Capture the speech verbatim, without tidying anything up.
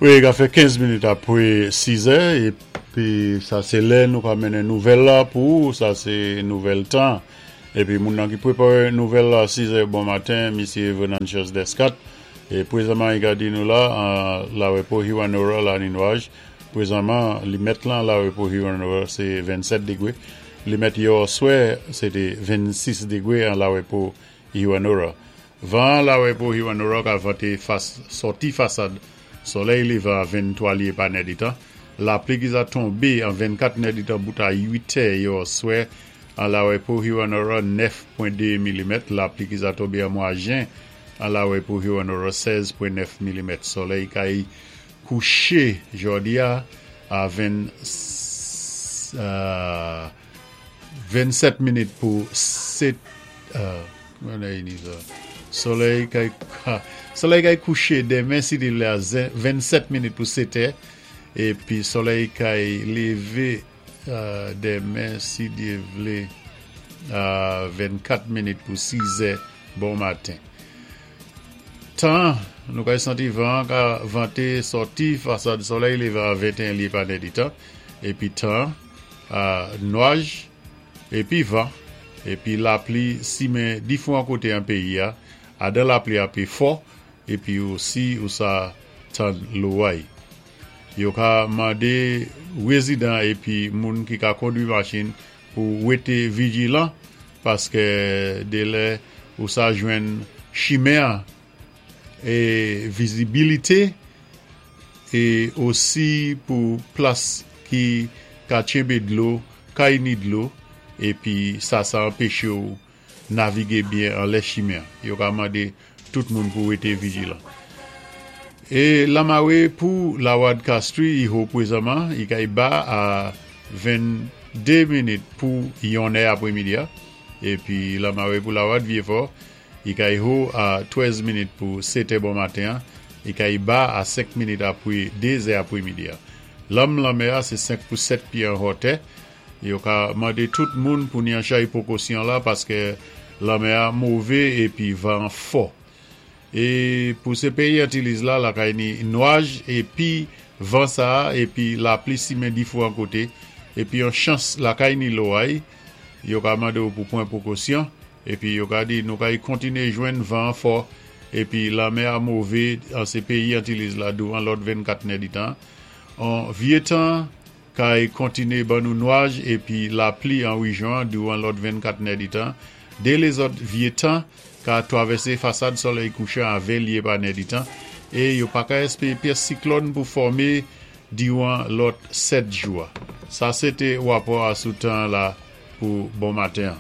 Wi, ka fè kenz minit apwé sis è, épi sa sé lè nou ka mennen nouvèl la pou ou, sa sé nouvèl tan. Épi moun nan ki pwépawé nouvèl la sis è bon maten, Misyé Venantius Descat, é pwézanman i ka di nou la, an Larepo Hewanorra la ni nwaj, pwézanman limèt lan Larepo Hewanorra sé vennsèt dégwé, limèt yè oswè sé té vennsis dégwé an Larepo Hewanorra. Van Larepo Hewanorra ka vanté fas, sòti fasad solèy lévan a venntwa lyé pa nèditan. Lapli ki sa tonbé an vennkat nèditan bout a uit è yè oswè an Larepo Hewanorra nèf pwen dé milimèt. Lapli ki sa tonbé an mwa jen an Larepo Hewanorra sèz pwen nèf milimèt. Solèy kay kouché jòdi a a ven, euh, vennsèt minit pou sèt, euh, solèy kay solèy kay kouché denmen si Dye vlé a vennsèt minit pou sèt è épi solèy kay lévé euh, denmen si Dye vlé a vennkat minit pou sis è bon maten. Tan, nou kay santi van ka vanté sòti fasad solèy lévé a venteyen lyé pa nèditan, épi tan, euh, nwaj, épi van, épi lapli simen difwan koté an péyi a, adan lapli a pi fò, épi osi ou sa tann loway. Yo ka mandé wézidan épi moun ki ka kondwi machin pou wété vijilan paské dé lè ou sa jwenn chimen é vizibilité é osi pou plas ki ka tjenbé dlo, kay ni dlo, épi sa sa anpéché ou navigé byen an lè chimen. Yo ka mandé tout moun pou wété vijilan. É lamawé pou Lawad Castries i ho pwézanman, i kay ba a venndé minit pou yon è apwémidi a. Épi lamawé pou Lawad Vyéfò, i kay ho a twèz minit pou sèt è bon maten, i kay ba a senk minit apwé dé è apwémidi a. Lanm lanmè a sé senk pou sèt pyé an hotè. Yo ka mandé tout moun pou ni an chay pwékosyon la paské lanmè a mové épi van fò. É pou sé péyi Antiliz la, la kay ni nwaj épi van sa épi lapli simen difwan koté épi yon chans la kay ni loway, yo ka mandé ou pou pwan pwékosyon épi yo ka di nou kay kontiné jwenn van fò épi lanmè a mové an sé péyi Antiliz la douvan lòt vennkat nèditan. An vyé tan kay kontiné ban nou nwaj épi lapli an wéjyon douvan lòt vennkat nèditan. Dé lézòt vyé tan ka twavèsé fasad solèy kouchan a ven lyé pa nèditan é yo pa ka èspéwé pyès siklòn pou fòmé diwan lòt sèt jou. Sa sé té wapò a sou tan la pou bon maten.